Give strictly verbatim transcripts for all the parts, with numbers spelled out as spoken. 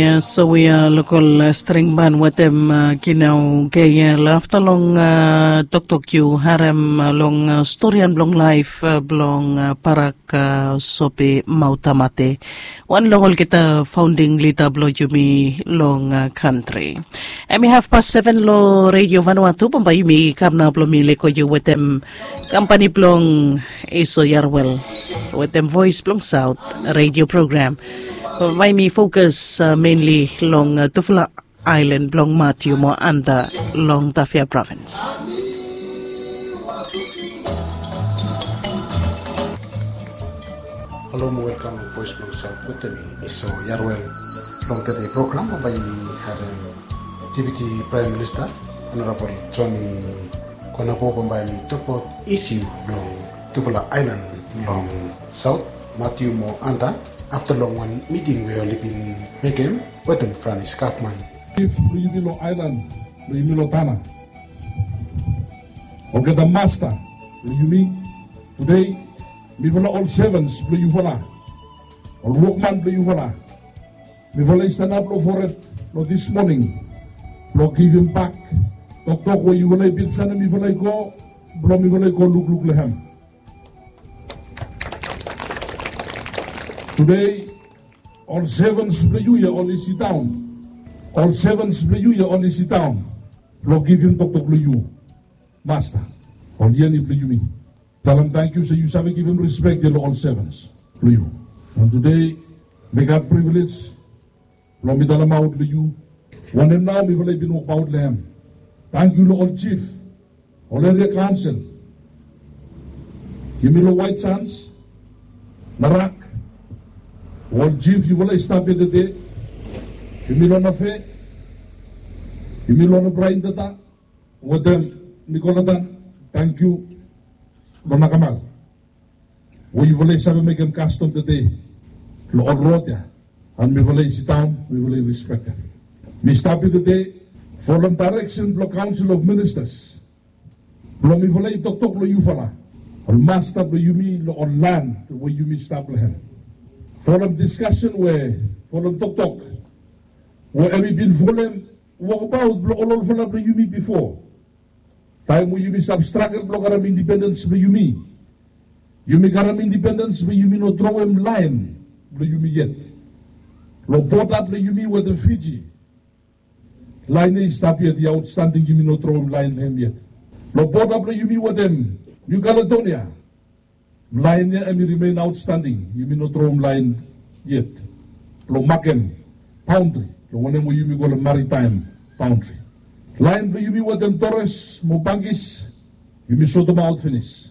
Ya, so we a lokol string ban wetem Kinau Geyel afta long toktok yu harem long storian blong laif blong Barak Sopi Mautamate, wan long olgeta faonding lida blong yumi long kantri. Em i hafpas seven long Redio Vanuatu. Bambae yumi kam nao blong mi lego yu wetem kampani blong Eso Yarwel wetem Voes blong Saot redio program. Bambae mi fokas menli long tufala aelan blong Matiu mo Anda long Tafea provins. Halo mo welkam long Voes blong Saot wetem mi Eso Yarwel. Long tede program bambae yumi harem Deputi Praem Minista Honorabol Joni Konabo bambae mi tokbaot isiu blong tufala aelan long Saot, Matiu mo Anda, afta long wan miting we oli bin mekem wetem Franis gavman. Jif blong yumi long aelan blong yumi long Tana, olgeta masta blong yumi, tude mifala ol sevens blong yufala, ol wokman blong yufala, mifala i stanap long fored long dis moning blong givim bak toktok we yufala i bin sanem mifala i go blong mifala i go lukluk long hem. Tude ol sevens blong yu ya oli sidaon. Ol sevens blong yu ya oli sidaon blong givim toktok long yu, masta, ol yeni blong yumi. Talem tangkiu se yu save givim rispek ya long ol sevens blong yu. Mo tude mi gat privilej blong mi talemaot long yu wanem nao mifala i bin wokbaot long hem. Tangkiu long ol jif, ol eria kaonsel, yumi long Waet Sans, Narak, ol jif yufala i stap ya tede, yumi long Nafe, yumi long Braintata wetem Nikolatan. Tangkiu long nakamal we yufala i save mekem kastom tede long ol rod ya, and mifala i sidaon, mifala i rispektem. Mi stap ya tede folem daereksen blong Kaonsel of Ministas blong mifala i toktok long yufala, ol masta blong yumi long ol lan we yumi stap long hem. Folem diskasen we, folem toktok we hem i bin folem wokbaot blong ol olfala blong yumi bifo. Taem we yumi stap stragel blong karem indipendens blong yumi, yumi karem indipendens blong yumi no trowem laen blong yumi yet. Long boda blong yumi wetem Fiji, laen ya i stap yet, i aotstanding, yumi no trowem laen long hem yet. Long boda blong yumi wetem Niu Kaledonia, laen ya hem i rimen aotstanding, yumi no trowem laen yet blong makem baondri long wanem we yumi kolem maritaem baondri. Laen blong yumi wetem Tores mo Bangis, yumi sotemaot finis.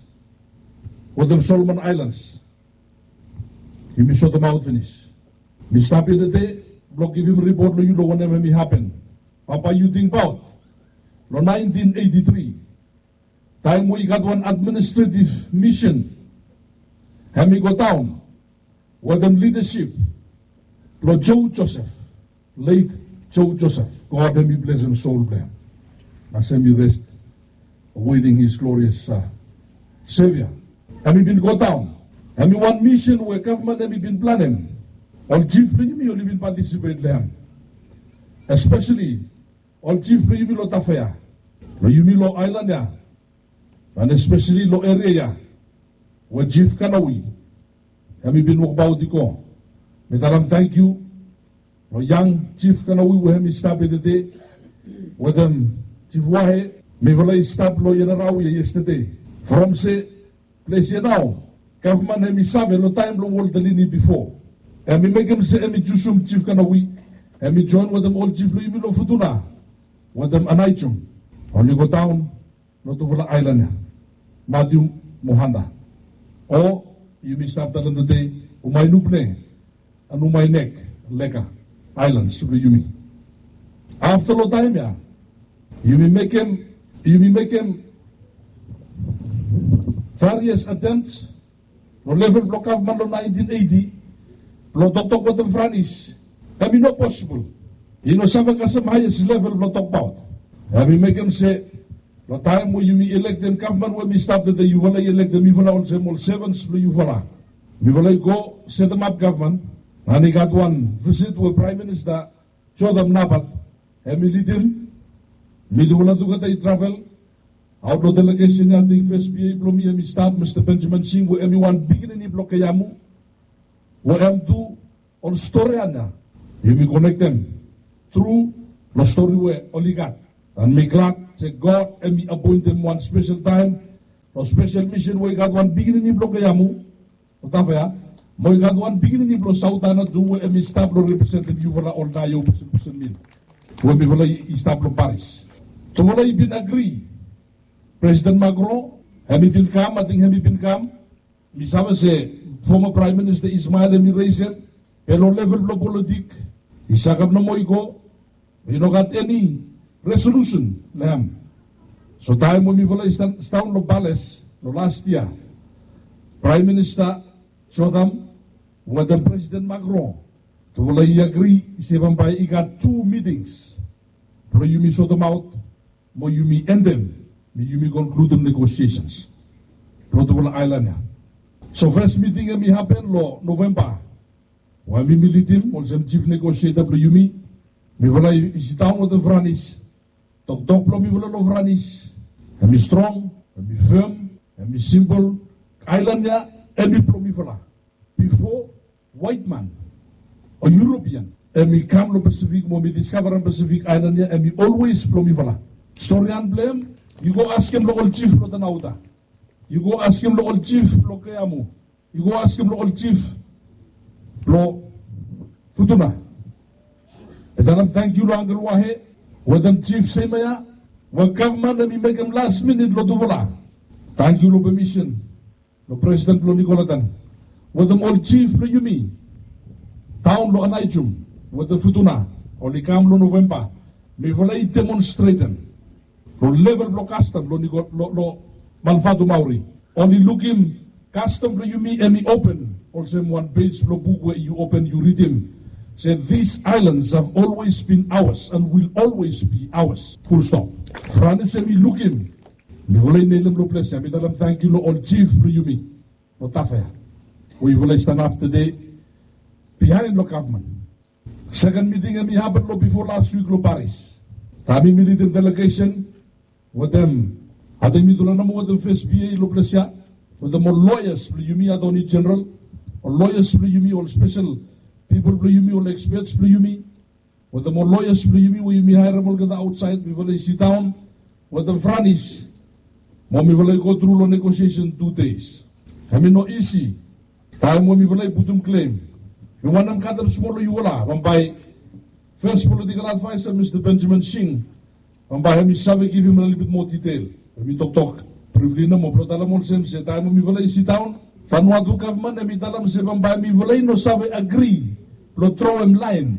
Wetem Solomon Aelans, yumi sotemaot finis. Mi stap ya tede blong givim ripot long yu long wanem hem i hapen. Bambae yu tingbaot long naentin eiti tri, taem we i gat wan administretiv misen hem i godaon wetem lidasip blong Joe Joseph, leit Joe Joseph, God hem i blesem sol blong hem, kasem i rest, awaiting his glorious Savior. Hem i bin godaon, hem i wan misen we gavman hem i bin planem. Ol jif blong yumi oli bin patisipet long hem, espeseli ol jif blong yumi long Tafea, blong yumi long aelan ya, and espeseli long eria ya we Jif Kanawi hem i bin wokbaot i go. Mi talem tangkiu long yang Jif Kanawi we hem i stap ya tede wetem Jif Wahe. Mifala i stap long Ianarau ya yestede. From se ples ya nao gavman hem i save long taem blong Walter Lini bifo, hem i mekem se hem i jusum Jif Kanawi, hem i joen wetem ol jif blong yumi long Futuna wetem Anaijom, oli godaon long tufala aelan ya, Matiu mo Anda, o yumi stap talem tede Umainubne and Umainek, Leka aelans blong yumi. Afta long taem ya yumi mekem, yumi mekem various attempt long level blong gavman long naentin eiti blong toktok wetem Franis, hem i no posibol. I no save kasem haes level blong tokbaot. Hem i mekem se long taem we yumi elektem gavman we mi stap tede, yufala i elektem mifala olsem ol sevens blong yufala. Mifala i go setemap gavman, and i gat wan visit we Praem Minista Jotham Napat, hem i lidim mitufala tugeta i travel. Aot long delegesen ya, ating fes P A blong mi hem i stap, Mista Benjamin Sing, we hem i wan pikinini blong Keamu, we hem tu ol storian ya yumi konektem tru long stori we oli gat. And mi glad se God hem i apoentem wan spesel taem long spesel misen we i gat wan pikinini blong Keamu, Otafea, mo i gat wan pikinini blong Sautana tu we hem i stap long representim yufala ol naio pesen pesen mil we mifala i stap long Paris. Tufala i bin agri. Presiden Macron hem i bin kam, ating hem i bin kam. Mi save se foma Praem Minista Ismael hem i resem, be long level blong politik i sakap nomo i go. I no gat eni resolusen long hem. So taem we mifala i stan- stan long pales long las yia, Praem Minista Jotham wetem Presiden Macron, tufala i agri se bambae i gat tu mitings blong yumi sotomaot mo yumi endem, mo yumi konkludim negosiesens blong tufala aelan ya. So fes miting hem i hapen long Novemba, we mi mi lidim olsem jif negosieta blong yumi. Mifala i sitaon wetem Franis. Toktok blong mifala long Franis hem i strong, hem i fem, hem i simpol. Aelan ya hem i blong mifala. Bifo waetman o European hem i kam long Pasifik mo mi diskavarem Pasifik aelan ya, hem i olwes blong mifala. Storian blong hem yu go askem long ol jif blong Tanauta. Yu go askem long ol jif blong Keamu. Yu go askem long ol jif blong Futuna. Mi talem tangkiu long Angkel Wahe wetem jif Semea we gavman hem i mekem las minit long tufala. Tangkiu long pemisen long presiden blong Nikolatan wetem ol jif blong yumi daon long Anaijum wetem Futuna. Oli kam long Novemba. Mifala i demonstretem long level blong kastom long Niko- long, long Malvatumauri. Oli lukim kastom blong yumi hem i open olsem wan pej blong buk we yu open yu ridim se these islands have always been ours and will always be ours. Full stop. Franis hem i lukim. Mifala i nilem long ples ya, mi talem tangkiu long ol jif blong yumi long Tafea we yufala i stanap tede bihaen long gavman. Seken miting hem i hapen long bifo las wik long Paris. Taem mi mi lidim delegesen wetem, ating mitufala nomo wetem fes P A long ples ya, wetem ol loyas blong yumi, Atoni Jeneral, ol loyas blong yumi, ol spesel pipol blong yumi, ol ekspets blong yumi, wetem ol loyas blong yumi we yumi haerem olgeta aotsaed, mifala i sitaon wetem Franis mo mifala i gotru long negosiesen tu dei. Hem i no isi. Taem we mifala i putum klem, mi wantem katem smol long yufala bambae fes politikol advaesa Mista Benjamin Sing bambae hem i save givim lelebet moa ditel. Hem i toktok brifli nomo blong talem olsem se taem we mifala i sitaon, Vanuatu gavman hem i talem se bambae mifala i no save agri blong troem laen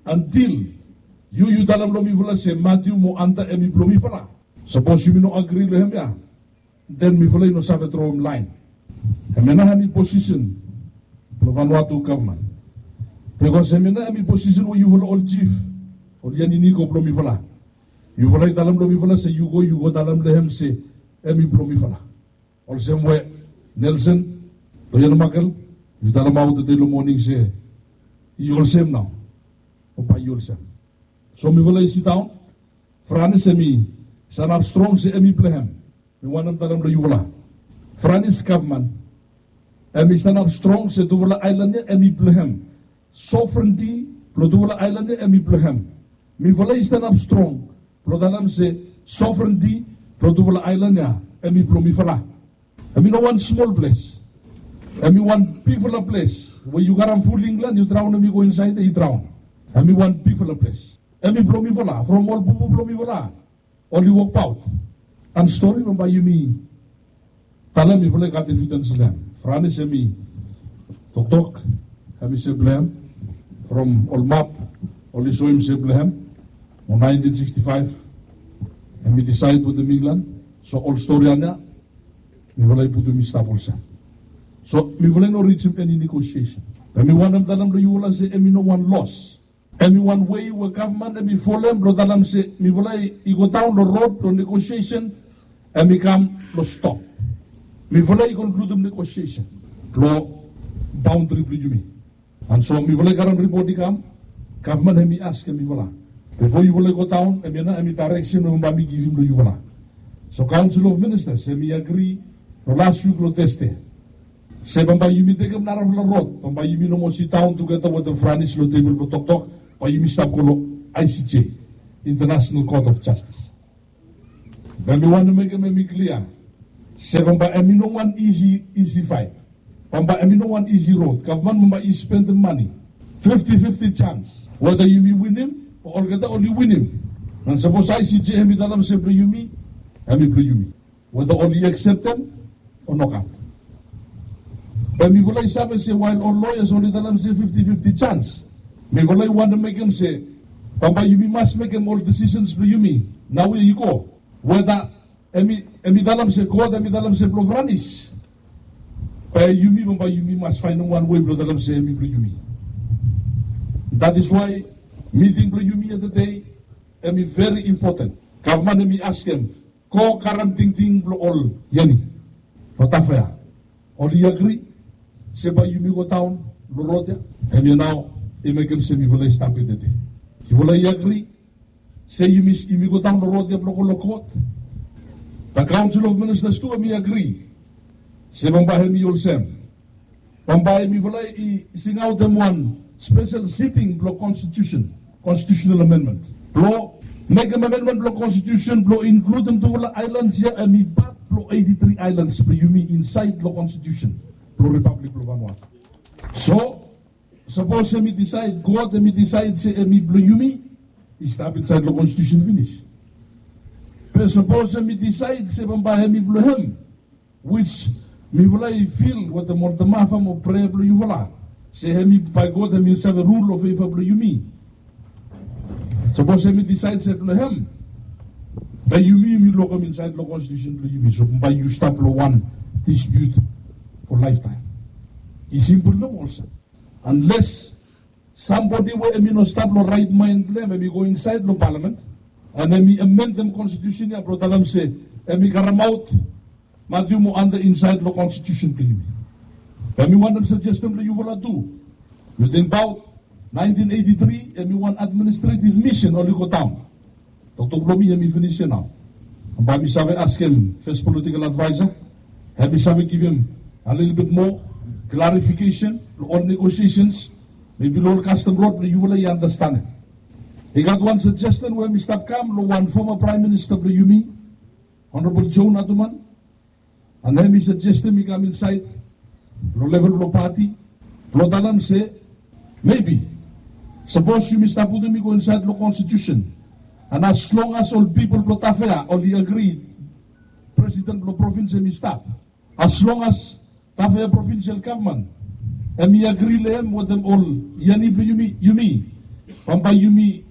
antil yu yu talem long mifala se Matiu mo Anta hem i blong mifala. Sapos yumi no agri long hemia, den mifala i no save troem laen. Hemia nao hem i posisen blong Vanuatu gavman. Bikos hemia nao hem i posisen we yufala ol jif, ol yaniniko blong mifala, yufala i talem long mifala se yu go yu go talem long hem se hem i blong mifala. Olsem we Nelson, Loyan Makel, yu talemaot tede long moning se i olsem nao, o bae i olsem. So mifala i sitaon. Franis hem i sanap strong se hem i blong hem. Mi wantem talem long yufala, Franis gavman hem i sanap strong se tufala aelan ya hem i blong hem. Sovrenti blong tufala aelan ya hem i blong hem. Mifala i stanap strong blong talem se sovrenti blong tufala aelan ya hem i blong mifala. Hem i no wan smol ples. Hem i wan bigfala ples we yu karem ful Inglan yu draonem i go insaed ya i draon. Hem i wan bigfala ples. Hem i blong mifala from ol bubu blong mifala oli wokbaot. An stori bambae yumi talem mifala i gat evidens long hem. Franis hem i toktok hem i se blong hem. From ol map oli soem se blong hem. Mo naentin siksti faef hem i disaed wetem Inglan. So ol stori ya mifala i putum i stap olsem. So mifala i no rijim eni negosiesen. Be mi wantem talem long yufala se hem i no wan los. Hem i wan wei we gavman hem i folem blong talem se mifala i go daon long rod blong negosiesen. Hem i kam long stop. Mifala i konkludim negosiesen long baondri blong yumi. An so mifala i karem ripot i kam Gavman hemi askem yufala, bifo yufala i godaon, hemia nao hemi daereksen we bambae mi givim long yufala. So Kaonsel of Ministas hemi agri long las wik long Tasde se bambae yumi tekem narafala rod, bambae yumi no moa sidaon tugeta wetem Franis long tebol blong toktok, bae yumi stap go long I C J, International Court of Justice. Be mi wantem mekem hemi klia se bambae hemi no wan isi, isi faet. Bambae hemi no wan isi rod. Gavman bambae i spendem mane, fifti fifti jans, weta yumi winim o olgeta oli winim. Nao sapos I C J hemi talem se blong yumi, hemi blong yumi, weta oli akseptem o nogat. Be mifala i save se wael ol loyas oli talem se fifti fifti jans, mifala i wantem mekem se bambae yumi mas mekem ol disisens blong yumi naoia i go, weta hemi, hemi talem se God, hemi talem se blong Franis, be yumi bambae yumi mas faenem wan wei blong talem se hemi blong yumi. That is why miting blong yumi ya tede hemi veri impoten. Gavman hemi askem, go karem tingting blong ol yani long Tafea. Oli agri se bae yumi godaon long rod ya? Hemia nao i mekem se mifala i stap ya tede. Yufala i agri se yumi, yumi godaon long rod ya blong go long kot? Be Kaonsel of Ministas tu hemi agri se bambae hemi olsem, bambae mifala i singaotem wan spesel siting blong konstitusen, constitutional amendment, blong mekem amendment blong konstitusen blong inkludem tufala aelans ya hemi pat blong eiti tri aelans blong yumi insaed long konstitusen blong Ripablik blong Vanuatu. So sapos hemi disaed, God hemi disaed se hemi blong yumi, i stap insaed long konstitusen finis. Be sapos hemi disaed se bambae hemi blong hem, wis mifala i fil wetem ol tamafa mo prea blong yufala se hemi, bae God hemi save rul long feva blong yumi. Sapos hemi disaed se blong hem, be yumi, yumi lokem insaed long konstitusen blong yumi. So bae yu stap long wan dispiut fo laeftaem. I simpol nomo olsem. Unles sambodi we hemi no stap long raet maen blong hem, hemi go insaed long palamen, and hemi amendem konstitusen ya blong talem se hemi karemaot Matiu mo Anda insaed long konstitusen blong yumi. Be mi wantem sajestem long yufala tu. Yu tingbaot naentin eiti tri, hemi wan administretiv misen oli godaon. Toktok blong mi hemi finis ya nao. Bae mi save askem fes politikol advaesa, hemi save givim a lelebet moa klarifikesen long ol negosiesens, mebi long ol kastom rod blong yufala i andastanem. I gat wan sajesten we hemi stap kam long wan foma Praem Minista blong yumi, Honorabol Joe Naduman, and hemi sajestem i kam insaed long level blong pati blong talem se, mebi sapos yumi stap putum i go insaed long konstitusen, and as long as ol pipol blong Tafea oli agri presiden blong provins hemi stap, as long as Tafea provinsel gavman hemi agri long hem wetem ol yani blong yumi, yumi, bambae yumi,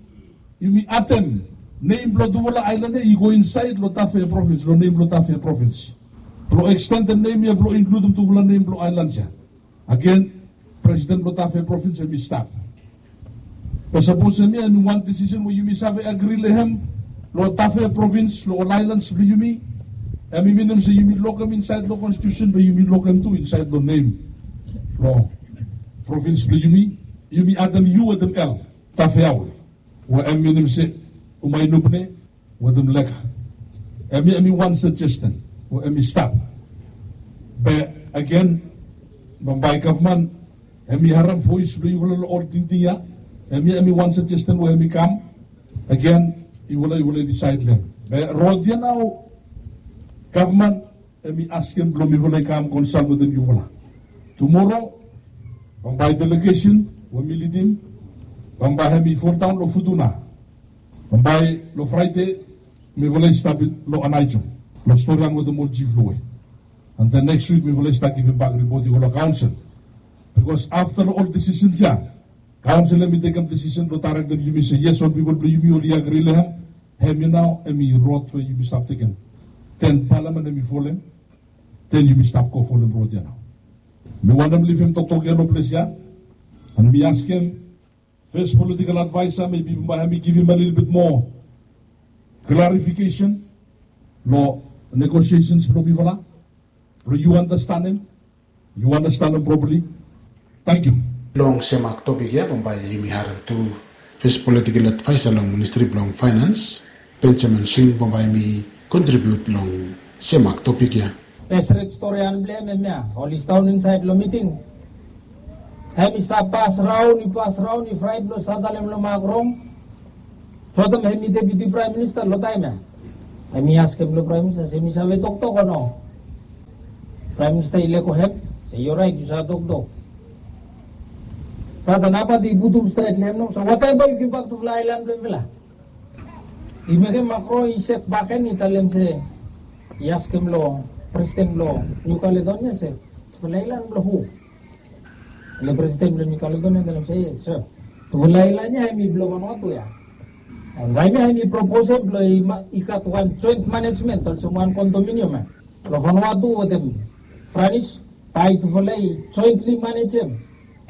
yumi adem nem blong tufala aelan ya i go insaed long Tafea provins, long nem blong Tafea provins, blong ekstendem nem ya blong inkludem tufala nem blong aelans ya. Agen, presiden blong Tafea provins hemi stap. Be sapos hemia hemi wan disisen we yumi save agri long hem long Tafea provins, long ol aelans blong yumi, hemi minim se yumi lokem insaed long konstitusen, be yumi lokem tu insaed long nem blong provins blong yumi. Yumi adem U wetem L, Tafeaol, we hemi minim se Umainubne wetem Leka. Hemia hemi wan sajesten we hemi stap. Be agen, bambae gavman hemi harem voes blong yufala long ol tingting ya. Hemia hemi wan sajesten we hemi kam. Agen, yufala, yufala i disaed long hem. Be rod ya nao, gavman hemi askem blong mifala i kam konsalt wetem yufala. Tumoro bambae delegesen we mi lidim, bambae hemi foldaon long Futuna. Bambae long Fraede mifala i stap long Anaijo long storian wetem ol jif long we. And then nekis wik mifala i stap givimbak ripot i go long kaonsel. Bikos afta long ol disisens ya, kaonsel hemi tekem disisen blong daerektem yumi se yes, ol pipol blong yumi oli agri long hem. Hemia nao hemi rod we yumi stap tekem. Den palamen hemi folem. Den yumi stap go folem rod ya nao. Mi wantem livim toktok ya long ples ya. And mi askem fes politikol advaesa, mebi bambae hemi givim a lelebet moa klarifikesen long negosiesens blong mifala, blong yu andastanem, yu andastanem propali. Tangkiu. Long sem topik ya bambae yumi harem tu Fes politikel advaesa long ministri blong faenans, Benjamin Sing, bambae hem i kontribiut long semak topik ya. Bes red storian blong hem hemia, oli stap insaed long miting. Hem i stap pas raon, i pas raon, i fraet blong stap talem long Macron. Sotem hem i deputi praem minista long taem ya. Hem i askem long praem minista se mi save toktok o no. Praem minista i lego hem se, yu raet, yu save toktok. Bat nao bat i putum stret long hem nao, so watem bae yu givbak tufala aelan blong yufala? I mekem Macron i sek bakegen, i talem se, i askem long presiden blong New Caledonia se, tufala aelan blong hu? Long presiden blong New Caledonia i talem se, yes, so tufala aelan ya hem i blong Vanuatu ya. Bae hem ya hem i proposem blong i gat wan joint management olsem wan kondominium ya. Long Vanuatu wetem Franis, bae tufala i jointli manejem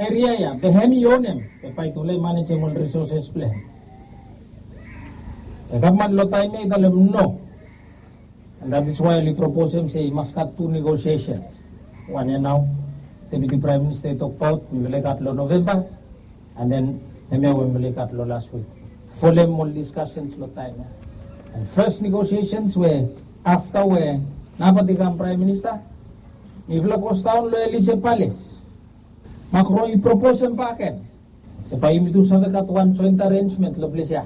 eria ya, be hem i onem, be bae tufala i manejem ol risoses blong hem. Be gavman long taem ya i talem no. And that is why oli proposem se i mas gat tu negosiesens. Wan ya nao deputi praem minista i tokbaot, mifala i gat long Novemba. And then hemia we mifala i gat long las wik. Folem ol diskasens long taem ya. And fes negosiesens we afta we nao bat i kam praem minista, mifala goes daon long Elysee Palace. Macron i proposem bakegen se bae yumi tu save gat wan joint arrangement long ples ya.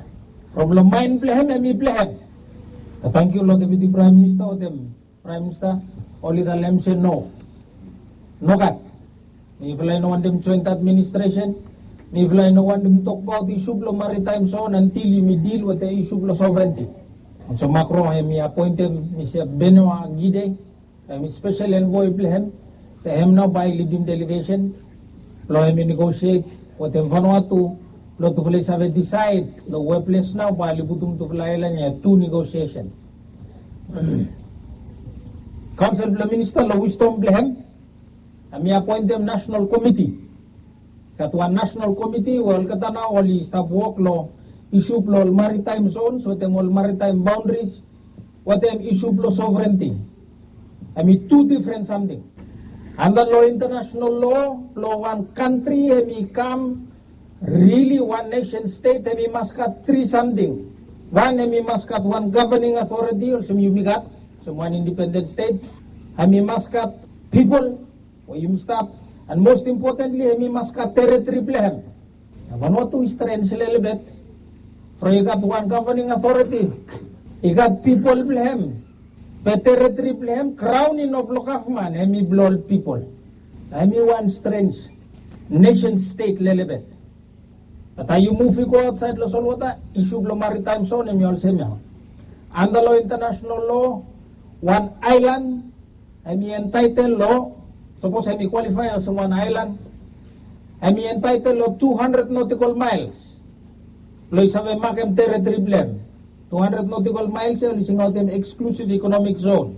From long maen blong hem, hem i blong hem. Bat tangkiu long deputi praem minista wetem praem minista, oli talem se no. Nogat. Mifala i no wantem joint administresen. Mifala i no wantem tokbaot isu blong maritaem zon antil yumi dil wetem isu blong sovereniti. And so Macron hem i apoentem Mista Benoit Guidez, hem i spesel envoe blong hem, se hem nao bae i lidim delegesen blong hem i negosiet wetem Vanuatu blong tufala i save disaed long we ples nao bae oli putum tufala aelan ya, tu negosiesens. Kaonsel blong minista long wisdom blong hem, hem i apoentem nasenal komiti. Gat wan nasenal komiti we olgeta nao oli stap wok long isu blong ol maritaem zons wetem ol maritaem baondaris wetem isu blong sovereniti. Hem i tu difren samting. Anda long intanasenal loa blong wan kantri hem i kam rili wan nesen stet, hem i mas gat tri samting. Wan, hem i mas gat wan gavaning aotoriti olsem yumi gat, olsem wan indipenden stet. Hem i mas gat pipol we yumi stap, and most importantly hem i mas gat teritori blong hem. Vanuatu i strens lelebet. From i gat wan gavaning aotoriti, i gat pipol blong hem, be teritori blong hem, graon i no blong gavman, hem i blong ol pipol. Hem i wan strens nesen stet lelebet. Bat taem yu muv i go aotsaed long solwota, isu blong maritaem zon hem i olsem ya. Anda long intanasenal loa, wan aelan hem i entaetel long, sapos hem i kwalifae olsem wan aelan, hem i entaetel long tu handred notikol maels blong i save makem teritori blong hem. Tu handred notikol maels ya oli singaotem eksklusiv ikonomik zon.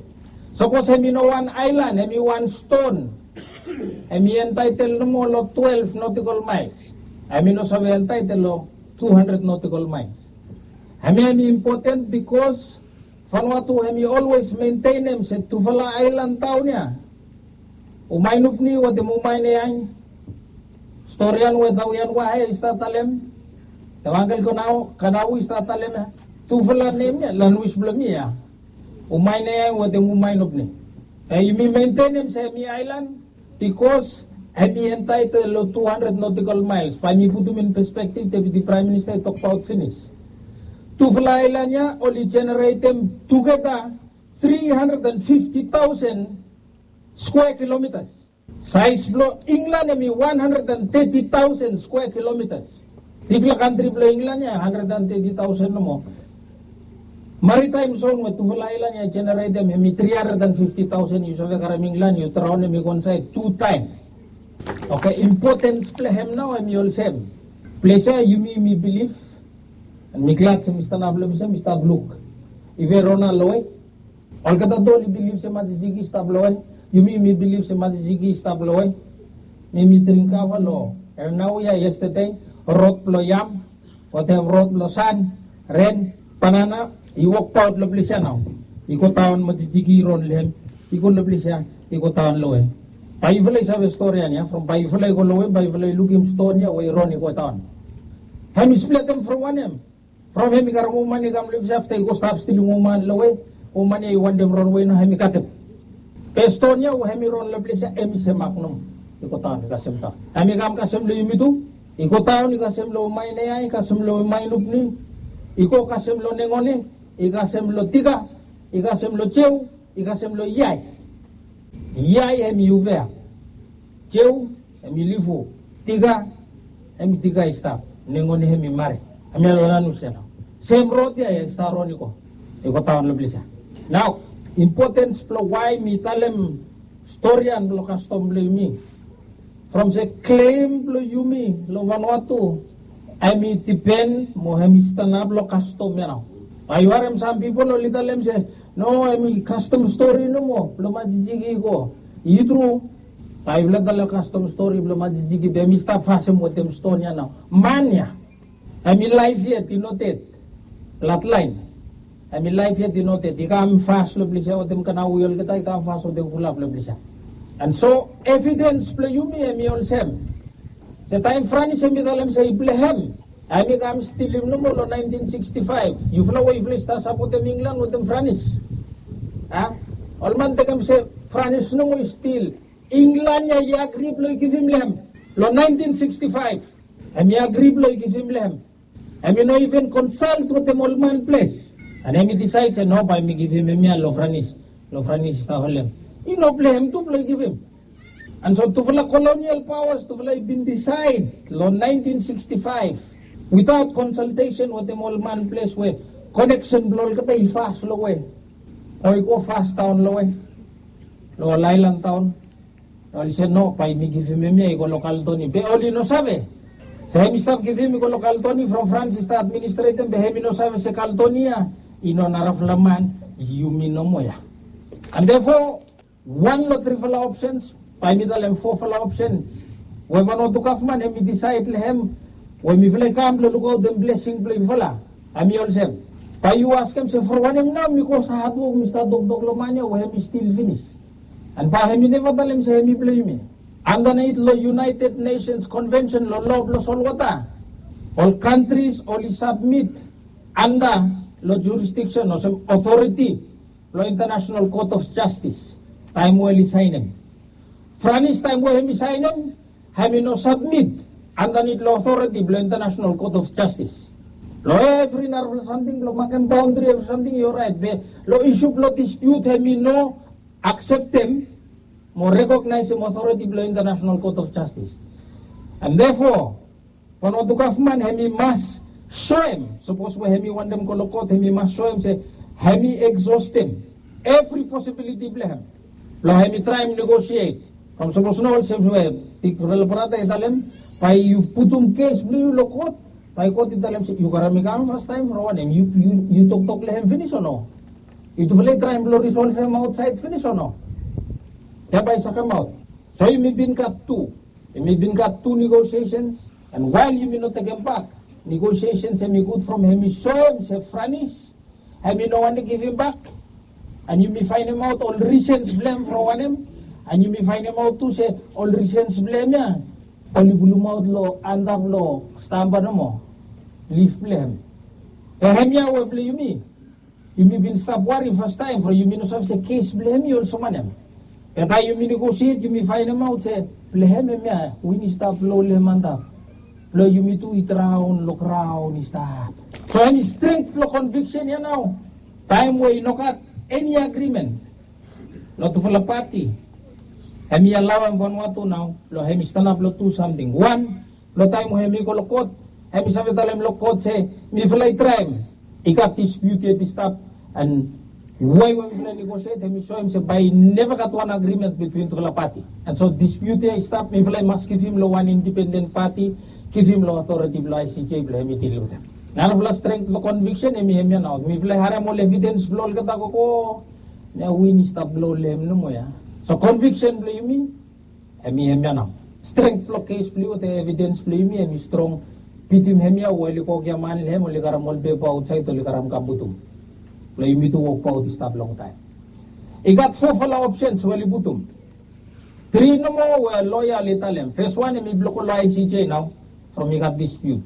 Sapos hem i no wan aelan, hem i wan ston, hem i entaetel nomo long twelef notikol maels. Hem i no save entaetel long tu handred notikol maels. Hemia hem i impoten bikos Vanuatu hem i olwes mentenem se tufala aelan taon ya, Umaenupni wetem Umaeneang. Storian we Tawian Wahe i stap talem, Tewangkel Kanau, Kanau i stap talem ya. Tufala nem ya, lanwis blong mi ya. Umaeneang wetem Umaenupni. Be yumi mentenem se hem i aelan, bikos hem i entaetel long tu handred notikol maels. Bae mi putum in pespektiv, Deputi Praem Minista i tokbaot finis. Tufala aelan ya oli jeneretem tugeta tri handred and fifti taosen skwea kilomitas. Saes blong Inglan hem i wan handred and teti taosen skwea kilomitas. Bigfala kantri blong Inglan ya handred and teti taosen nomo. Maritaem zon we tufala aelan ya i jeneretem hem i tri handred and fifti taosen. Yu save karem Inglan yu draonem i go insaed tu taem. Oke, impotens blong hem nao hem i olsem. Ples ya yumi yumi bilif, and mi glad se mi stanap long ples ya mi stap luk. Ive Rona loe. Olgeta tu oli bilif se Majijiki i stap loe. Yumi yumi bilif se Majijiki i stap loe. Mi mi dring kava long Ernau ya yestede. Rod blong yam, wetem rod blong san, ren, banana, i wokbaot long ples ya nao. I godaon, Majijiki i ron long hem. I go long ples ya, i godaon loe. Bae yufala i save storian ya, from bae yufala i go loe, bae yufala i lukim ston ya we i ron i godaon. Hem i spletem from wanem? From hem i karem woman i kam long ples ya, afta i go stap stilim woman long we woman ya i wantem ronwe nao hem i katem. Be ston ya we hem i ron long ples ya hem i semak nomo, i go daon i kasem daon. Hem i kam kasem long yumi tu, i go daon i kasem long Maineai, i kasem long Mainupni, i go kasem long Nengone, i kasem long Tika, i kasem long Jeu, i kasem long Iai. Iai hem i Uvea. Jeu hem i Lifu. Tika hem i Tika i stap. Nengone hem i Mare. Hemia long Lanus ya nao. Sem rod ya ya i stap ron i go, i go daon long ples ya. Nao, impotens blong wae mi talem stori ya blong kastom blong yumi. From se klem blong yumi long Vanuatu hem i dipen mo hem i stanap long kastom ya nao. Bae yu harem sam pipol oli talem se no, hem i kastom stori nomo blong majijiki i go. I tru. Bae yufala talem kastom stori blong majijiki be hem i stap fasem wetem ston ya nao. Man ya hem i laef yet, i no ded. Bladlaen hem i laef yet, i no ded. I kam fas long ples ya wetem kanawe olgeta, i kam fas wetem fulap long ples ya. And so evidens blong yumi hem i olsem se taem Franis hem i talem se i blong hem, hem i kam stilim nomo long naentin siksti faef. Yufala we yufala i stap sapotem Inglan wetem Franis, a, ol man tekem se Franis nomo i stil. Inglan ya i agri blong i givim long hem long naentin siksti faef. Hem i agri blong i givim long hem. Hem i no iven konsalt wetem ol man ples. And hem i disaed se no, bae mi givim hemia long Franis. Long Franis i stap holem. I no blong hem tu blong i givim. And so tufala kolonial paoas tufala i bin disaed long naentin siksti faef witaot konsaltesen wetem ol man ples we koneksen blong olgeta i fas long we, o i go fas daon long we, long ol aelan daon. Oli se no, bae mi givim hemia i go long Kaletoni. Be oli no save se hem i stap givim i go long Kaletoni from Frans i stap administretem, be hem i no save se Kaletoni ya i no narafala man, yumi nomo ya. And therefore wan long trifala opsens, bae mi talem fofala opsen, we Vanuatu gavman hem i disaed long hem we mifala i kam blong lukaotem blesing blong yufala, hem i olsem, bae yu askem se from wanem nao mi go stap hatwok, mi stap toktok long man ya we hem i stil finis. And bae hem i neva talem se hem i blong yumi. Andanit long United Nations Convention long loa blong solwota, ol kantris oli sabmit anda long jurisdiksen olsem otoriti blong International Court of Justice taem we oli saenem. Franis taem we hem i saenem, hem i no sabmit andanit long otoriti blong International Court of Justice. Long evri narafala samting blong makem baondri evri samting i oraet, be long isu blong dispiut hem i no akseptem mo rekognaesem otoriti blong International Court of Justice. And therefore Vanuatu gavman hem i mas soem, sapos we hem i wantem go long kot hem i mas soem se hem i eksostem evri posibiliti blong hem blong hem i traem negosiet. From sapos no olsem we bigfala brata i talem, bae yu putum kes blong yu long kot, bae kot i talem se yu karem i kam fastaem from wanem, yu toktok long hem finis o no? Yutufala i traem blong risolvem aotsaed finis o no? Ya bae i save kamaot. So yumi bin gat tu, yumi bin gat tu negosiesens. And wael yumi no tekem bak negosiesens hem i gud from hem i soem se Franis hem i no wantem givim bak. And yumi faenemaot ol risens blong hem from wanem. And yumi faenemaot tu se ol risens blong hem ya oli pulumaot long antap long stamba nomo, lif blong hem. Be hemia we blong yumi, yumi bin stap wari fastaem from yumi no save se kes blong hem i olsem wanem. Be taem yumi negosiet yumi faenemaot se blong hem hemia win i stap long lem antap, blong yumi tu i draon long graon i stap. So hem i strength blong konviksen ya nao. Taem we i no gat eni agrimen long tufala pati, hem i alaoem Vanuatu nao blong hem i stanap long tu samting. Wan, long taem we hem i go long kot, hem i save talem long kot se mifala i traem, i gat dispiut yet i stap. And wae we mifala i negosiet hem i soem se bae i neva gat wan agrimen bitwin tufala pati. And so dispiut ya i stap, mifala i mas givim long wan indipenden pati, givim long otoriti blong I C J blong hem i dil wetem. Narafala strength blong konviksen hem i hemia nao. Mifala i harem ol evidens blong olgeta gogo, na win i stap blong long hem nomo ya. So konviksen blong yumi hem i hemia nao. Strength blong kes blong yu wetem evidens blong yumi hem i strong. Bitim hemia we oli go gia man long hem, oli karem ol pepa aotsaed oli karem kam putum blong yumi tu wokbaot i stap longtaem. I gat fofala opsens we oli putum. Tri nomo we loea oli talem. Fes wan hem i blong go long I C J nao from i gat dispiut.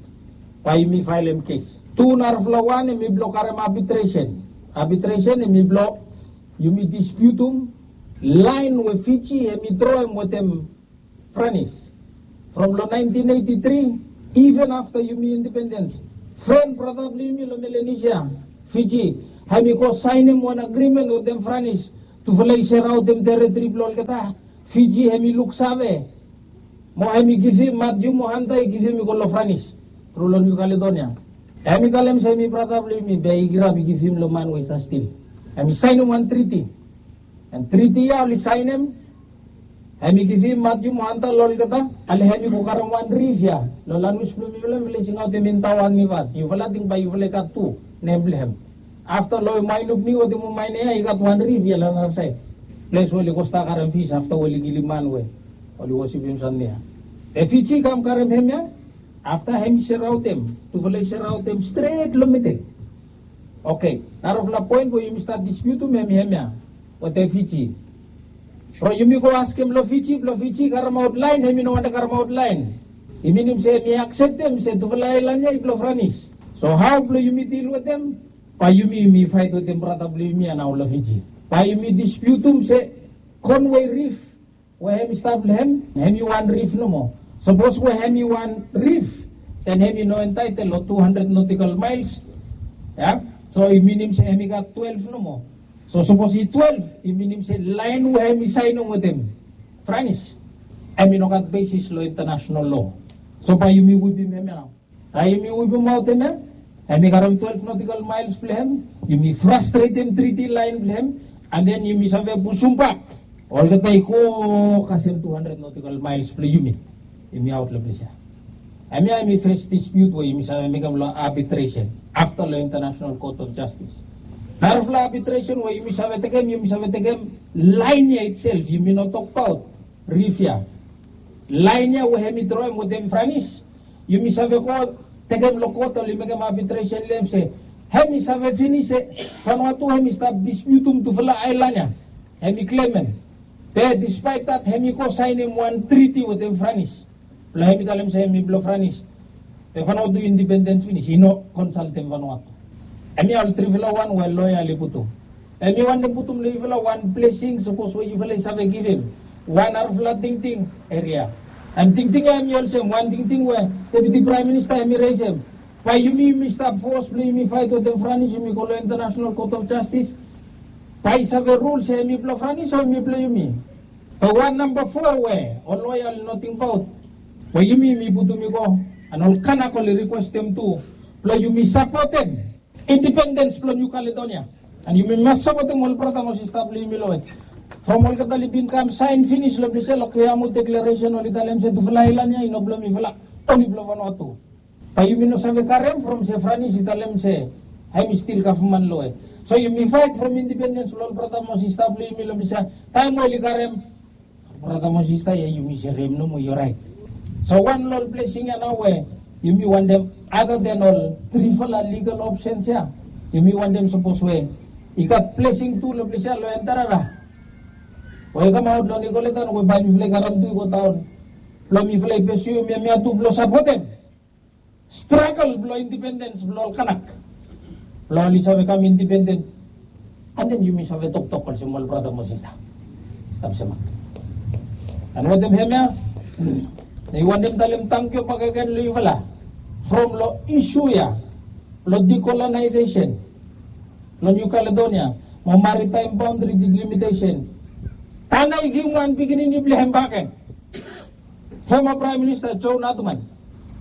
Bae yumi faelem kes. Tu narafala wan hemi blong karem abitresen. Abitresen hemi blong yumi dispiutum laen we Fiji hemi droem wetem Franis. From long naentin eiti tri, iven afta yumi indipendens, fren brata blong yumi long Melanesia, Fiji, hemi go saenem wan agrimen wetem Franis tufala i seraotem teritri blong olgeta. Fiji hemi luksave mo hemi givim Matthew mo Hunter i givim i go long Franis tru long New Caledonia. Hemi talem se hemi brata blong yumi be i kirap i givim long man we i stap stil. Hemi saenem wan triti. An triti ya oli saenem, hemi givim Matthew mo Hunter long olgeta. Ale hemi go karem wan rif ya. Long lanwis blong mifala mifala i singaotem Intawan Nivat. Yufala ting bae yufala i gat tu nem blong hem. Afta long Wainubniu wetem Waimea ya i gat wan rif ya long narasaed, ples we oli go stap karem fis afta we oli kilim man we oli wosipim samting ya. Be Fiji i kam karem hemia. Afta hemi seraotem, tufala i seraotem stret long midel. Oke, narafala poen we yumi stap dispiutum hemi hemia wetem Fiji. From yumi go askem long Fiji, blong Fiji i karemaot laen, hemi no wantem karemaot laen. I minim se hemi akseptem se tufala aelan ya i blong Franis. So hao blong yumi dil wetem? Bae yumi yumi faet wetem brata blong yumi ya nao long Fiji. Bae yumi dispiutum se Conway Reef we hemi stap long hem, hemi wan rif nomo. Sapos we hemi wan rif, den hemi no entaetel long tu handred nautical miles. Ya, so i minim se hemi gat twelef nomo. So sapos i twelef, i minim se laen we hemi saenem wetem Franis, hemi no gat besis long intanasenal loa. So bae yumi wipim hemia nao. Taem yumi wipimaot hemia, hemi karem twelef nautical miles blong hem. Yumi frastretem triti laen blong hem, an den yumi save pusumbak olgeta i go kasem tu handred nautical miles blong yumi. Yumi aot long ples ya. Hemia hemi fes dispiut we yumi save mekem long abitresen afta long International Court of Justice. Narafala abitresen we yumi save tekem, yumi save tekem laen ya itself, yumi no tokbaot rif ya. Laen ya we hemi droem wetem Franis, yumi save go tekem long kot, oli mekem abitresen long hem se hemi save finis se Vanuatu hemi stap dispiutum tufala aelan ya. Hemi klemem. Be dispaet dat hemi go saenem wan triti wetem Franis. Blong hemi talem se hemi blong Franis. Be Vanuatu indipendens finis, i no konsaltem Vanuatu. Hemia ol trifala wan we loea oli putum. Hemi wantem putum long yufala wan blesing sapos we yufala i save givim wan narafala tingting eria. An tingting ya hemi olsem wan tingting we Deputi Praem Minista hemi resem. Bae yumi yumi stap fos blong yumi faet wetem Franis, yumi go long International Court of Justice, bae i save rul se hemi blong Franis o hemi blong yumi. Be wan namba fo we ol loea oli no tingbaot, we yumi yumi putum i go, an ol Kanak oli rikwestem tu blong yumi sapotem indipendens blong Niu Kaledonia. An yumi mas sapotem ol brata mo sista blong yumi long we from olgeta oli bin kam saen finis long ples ya long Keamu Deklaresen, oli talem se tufala aelan ya i no blong mifala, oli blong Vanuatu. Bae yumi no save karem from se Franis i talem se hemi stil gavman long we. So yumi faet from indipendens blong ol brata mo sista blong yumi long ples ya. Taem we oli karem brata mo sista ya, yumi serem nomo, i oraet. So wan long ol blesing ya nao we yumi wantem, other than ol trifala ligal opsens ya, yumi wantem sapos we i gat blesing tu long ples ya long Enterera, we i kamaot long Nikolaitan, we bae mifala i karem tu i go daon blong mifala i pesuem hemia tu blong sapotem stragol blong indipendens blong ol Kanak, blong oli save kam indipenden. An den yumi save toktok olsem ol brata mo sista. Stap semak. An wetem hemia, mi wantem talem tangkiu bakegen long yufala from long isu ya blong decolonization long Niu Kaledonia mo maritime boundary delimitasen. Tana i givim wan pikinini blong hem bakegen. Foma Praem Minista Joe Naduman,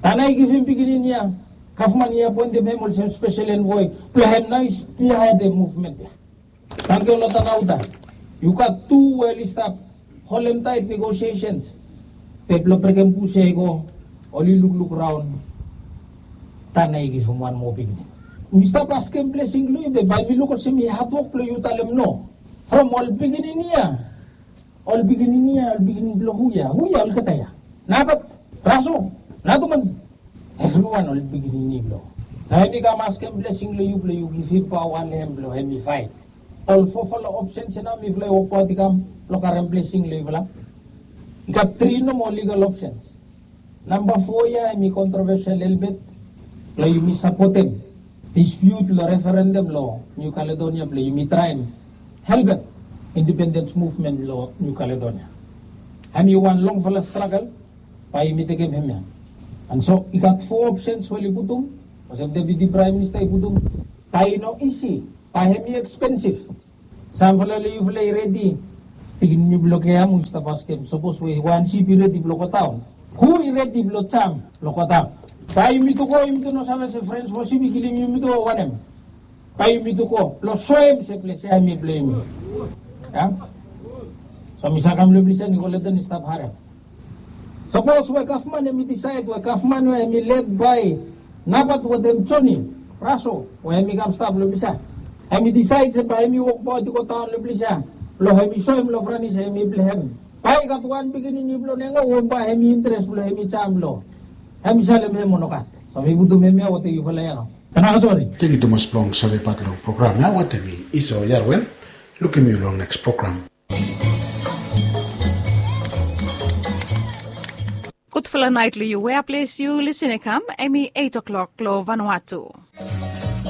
Tana i givim pikinini ya, gavman i apoentem hem olsem spesel envoe blong hem nao i spiaotem muvmen ya. Tangkiu long Tana Uta. Yu gat tu we oli stap holem taet negosiesens. Be blong brekem bus ya i go, oli lukluk raon. Tana i givim wan moa pikinini. Mi stap askem blesing long yu, be bae mi luk olsem i hatwok blong yu talem no. From ol pikinini ya, ol pikinini ya, ol pikinini blong hu ya? Hu ya olgeta ya? Nabat, Raso, Naduman, evriwan ol pikinini blong. Taem i kam askem blesing long yu blong yu givim paoa long hem blong hem i faet. Ol fofala opsens ya nao mifala i wokbaot i kam blong karem blesing long yufala. I gat tri nomo ligal opsens. Namba fo ya hemi kontrovesel lelebet. Blong yumi sapotem dispute long referendum long New Caledonia blong yumi traem helpem independence movement long New Caledonia. Hem i wan longfala struggle, bae yumi tekem hemia. And so i gat four options we oli putum, olsem Deputy Prime Minister i putum. Bae i no isi, bae hem i expensive. Samfala long yufala i redi. Pikinini blong Keamu i stap askem, sapos we wan sip i redi blong go daon, hu i redi blong jam blong go daon? Bae yumi tu go, yumi tu no save se frens fo sip i kilim yumi tu o wanem? Bae yumi tu go blong soem se ples ya hem i blong yumi. Ya. So mi sa kam long ples ya, Nicoletta i stap harem. Sapos we gavman hem i disaed we gavman we hem i led bae Nabat wetem Joni Raso we hem i kam stap long ples ya, hem i disaed se bae hem i wokbaot i go daon long ples ya blong hem i soem long Franis se hem i blong hem. Bae i gat wan pikinini blong Nengo we bae hem i interes blong hem i jam blong hem i salem hem o nogat. So mi putum hemia wetem yufala ya nao. Tanaka sori. Tangkiu tumas blong savebat long program ya wetem mi Iso Yarwel. Lukim yu long neks program. Gudfala naet long yu wea ples yu lisin i kam, hem i eit o'klok long Vanuatu.